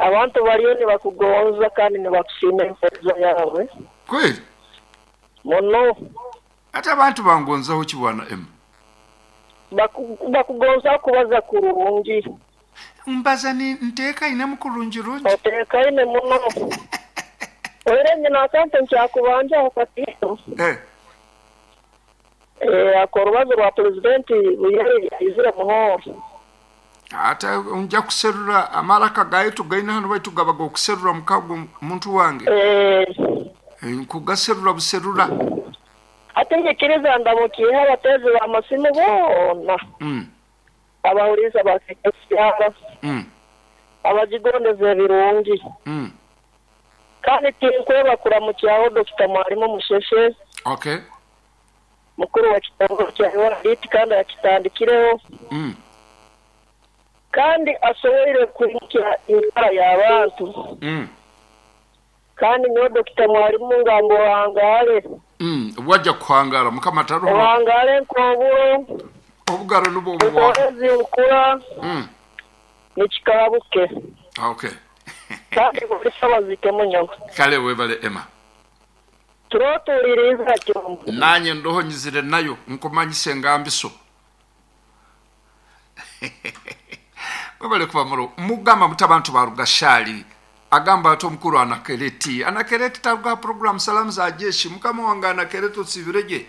Abantu bariyo nibakugonza kandi nibakusiima empeereza yaawe. Kweli? Muno. Ati abantu bangonzaho ki bwana Emma? Bakugonzaho kubaza kurungi. Mbaza ni nteekainemu kurungi rungi. Oteekaine muno. Oire nyina akante nkyakubanjaho katiito. Eh. Eh, ako orubazo rwa Pulezidenti Buyari aizire muno. Ate nja kuserura amaraka gaitu gaine hanu baitu gaba g'okuserura mukago muntu wange. Eh. Nkugaserura buserura. Hati nyikiriza ndamukiihe abateezi b'amasimu boona. Abahuriize ba KKCR. Abagigondeza ebirungi. Kandi tinkweba kuramukyaho Dokita Mwarimu Musheshe. Okay. Mukuru wa kitongore kya URDT kandi akitandikireho kandi asoboire kwimukya enkara y'abantu. Kandi nyowe Dokita Mwarimu ngamba ohangaale. Waja kuhangaara Mukama taruho. Ohangaale nk'oburo. Obugaro nubwo obu. Nkohezi nkura. Nikikarabuke. Okay. Kandi buri sabazike munyowe. Kale webale Emma. Turotuuliriize kyombo. Nanye ndoho nyizire nayo nkumanyise engambiso. Webale kuba muro. Mugamba muti abantu ba Rugashali. Agamba ati omukuru Anakereti. Anakereti taruga program Salamu za Jeshi. Mukama wange Anakereti otsibiregye.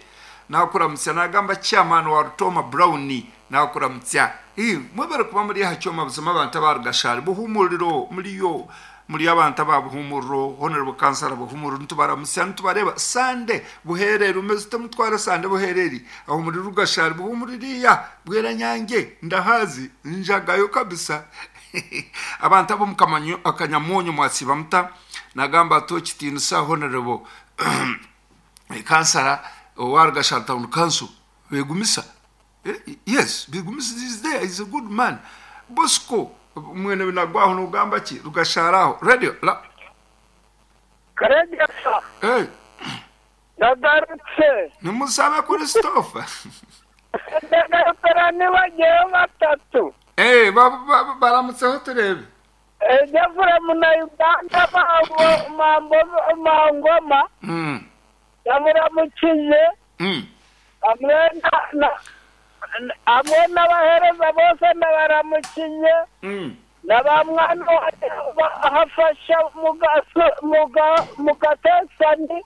Nakuramutsya nagamba chairman wa Rutoma Brown nakuramutsya. Ii mwebale kuba muri aha kyoma buzima abantu aba Rugashali buhumuriro muriyo muri abantu aba Buhumuriro Honorable Councillor Buhumuriro nitubaramutsya nitubareba Sande Buhereri umeze ute mutware Sande Buhereri aho muri Rugashali Buhumuririya Bweranyange ndahazi njagayo kabisa. Abantu abo mukamanyo akanyamonyo mwasiba muta nagamba ati okitinisa Honorable Councillor owa Rugashali Town Council Begumisa. Yes, Begumisa is there, is a good man. Bosco mwene binagwaho nogamba ki Rugashali aho radio la Karegeya. Hey. Ndagarutse. Nimusabe Christopher. Ndagarutse nibagiyeho batatu. Eh, baramutseho turebe. Jafura muna Uganda mambo mangoma. Ndamuramukize. Hamwe n'abahereza bose ndabaramukize. Na ba mwana wanjye ahafasha mugatesani.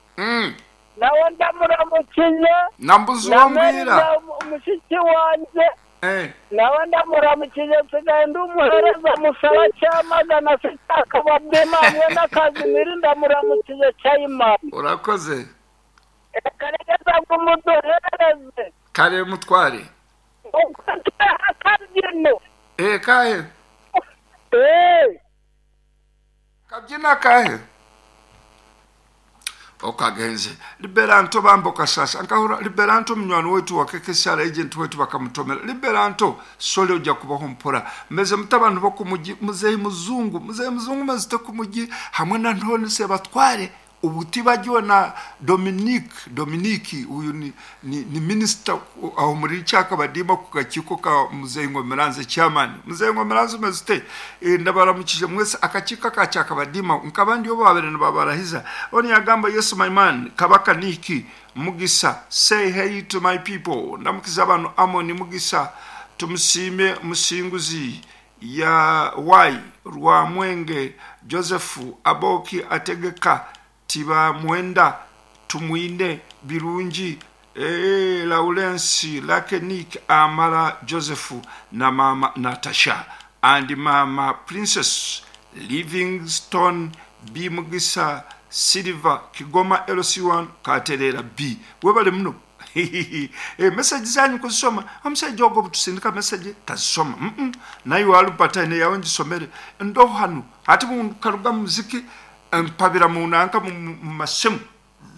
Nawe ndamuramukize. Nambuzi wambwira. Mushiki wanjye. Nawe ndamuramukize nsigaye ndi umuhereza musaba cyamagana sitakababwema hamwe na Kazimiri ndamuramukize cyayimana. Urakoze. Karegeza ngo umuduhereze. Kare mutware. Akabyino. Kahe? Kabyina kahe? Okagenze. Liberanto bambo kasasa. Nkahura Liberanto munywani wetu wa KKCR agent wetu bakamutomera. Liberanto sole ojja kubaho mpora. Meze mutabantu bo kumugi muzeyi muzungu, muzeyi muzungu mazite kumugi hamwe na Ntoni Sebatware ubutibagiwe na Dominique uyu ni minister aho muri Cyakabadima ku gakiko ka muzeyi Ngomeranze chairman. Muzeyi Ngomeranze umeze ndabaramukije mwese akakiko ka Cyakabadima nkabandi yo babere babarahiza. Oni yagamba yes my man kabaka niki Mugisa say hey to my people. Ndamukiza abantu Amoni Mugisa tumusime musinguzi ya Y Rwamwenge Joseph Aboki ategeka Tiba Mwenda Tumwine Birungi Lawrence Lakenik Amara Joseph na mama Natasha and mama Princess Livingstone B Mugisa Silver Kigoma LC1 Katerera B. Webale muno. Message zanyu kuzisoma. Omusajja ogwo butusindika message tazisoma. Naye walupata ine yawe ngisomere. Ndo hanu ati mukaruga muziki mpabira munanka mu masimu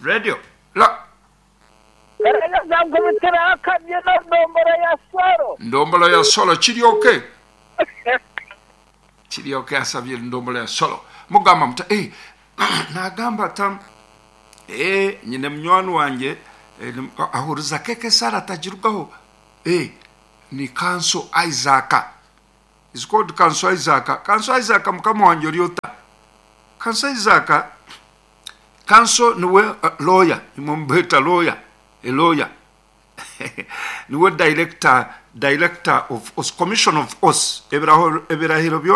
radio la ndombolo ya solo kiryoke kiryoke asabye ndombolo ya solo mugamba muta nagamba tam nyine munywani wanjye ahuriza keke sara atagirugaho ni kanso Isaac Is called Kanso Isaac. Kanso Isaac mukama wangye ori ota? Kanso Isaac, Kanso niwe lawyer, imwe mubeta lawyer, a lawyer. Niwe director, director of Oaths, commissioner of Oaths, ebirahiro byona.